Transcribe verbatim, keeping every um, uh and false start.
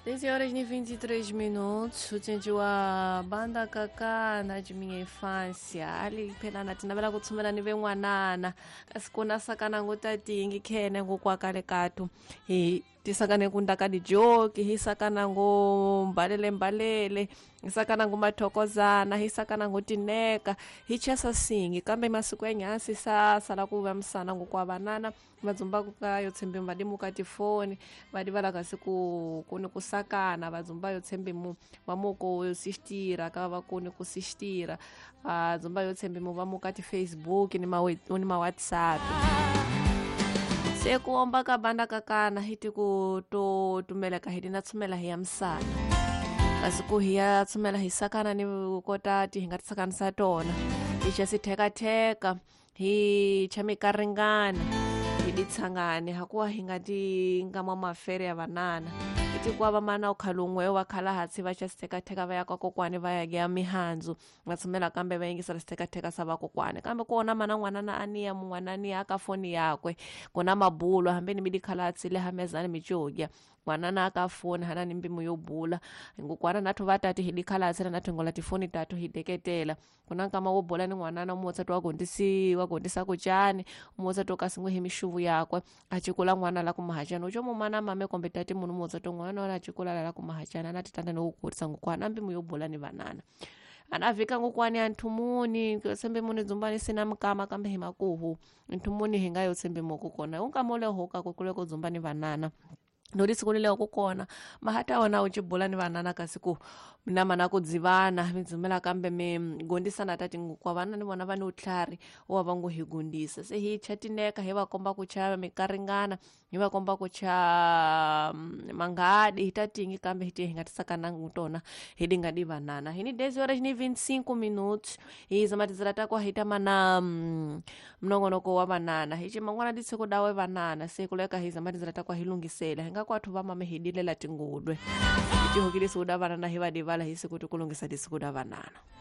dez horas e vinte e três minutos, ucinci wa banda kakana de minha infância ali phela na thina vela ku tshumela ni ve n'wanana kasi ku na sakana ngo tatingi khene ngo kwakale kathu hi tisakane ku ndaka dijoki hi sakana ngo mbalele mbalele hi sakana ngo mathokozana hi sakana ngo tineka hi chesa singi kambe masiku ya nyasi sa sala ku va misana ngo kwa vanana vadzumba ka yo tshembi va dimuka tifoni va divala kasi ku ku ni ku sakana vadzumba yo tshembi mu va muko yo sistira ka va ku ni ku sistira vadzumba yo tshembi mu va muka ti Facebook ni ma ni ma WhatsApp se ku omba ka banda kakana hi ti ku to tumeleka hi dina tshumela hi ya misana kasi ku hi ya tshumela hi sakana ni kota ti hi nga ti sakanisa tona hi xa sithekatheka hi cha mikaringana hi di tshangane hakuwa hi nga ti nga mwa mafere ya vanana hi ti ku va mana ukhalungwe wa khala hatsi va xa sithekatheka va ya ka kokwani va ya ya mihandzu va tshumela kambe va yingisela sithekatheka sa vakokwani kambe kona mana n'wanana aniya mun'wana aniya ka foni yakwe kona mabulo hambi ni mi dikhala hatsi le hamezani mi cogya n'wanana aka foni hana ni mbimu yo bula ngokwana nathu va tati hi dikhala hatsi na nathu ngola tifoni tatu hi deketela kuna nkama wo bula ni n'wanana umotsa to wa gondisi wa gondisa kuchani umotsa to kasi ngwe hi mixuvu yakwe a cikula n'wana la ku mahachana uco mumana mame kombe tati munhu umotsa to n'wana la cikula la la ku mahachana na titanda ni ku kurisa ngokwana mbimu yo bula ni vanana anavika ngokwani anthumuni tsembe muni dzumbani sina mukama kambe hi makuhu nthumuni hi nga yo tsembe moko kona unkama ule hoka kukuleko dzumbani vanana nodisikulile kukona mahata wona uchibula ni vanana kasi ku mina mana ku dzivana mi dzumela kambe mi gondisana tati kwa vana ni vona va ni utlhari wa va ngo hi gondisa se hi chatineka hi va komba ku chava mikaringana hi va komba ku cha mangadi hi tatingi kambe hi ti hi nga tisakanangu tona hi dinga di vanana hi ni dez horas ni vinte e cinco minutos hi zamatizela takwa hi ta mana mnongonoko wa vanana hi ciman'wana ditsiko dawe vanana se kuleka hi zamatizela takwa hi lungisela hi nga kwathu va mame hi dilela tingudwe hi tihokile siku da vanana hi va divala hi siku tikulungisa disiku da vanana.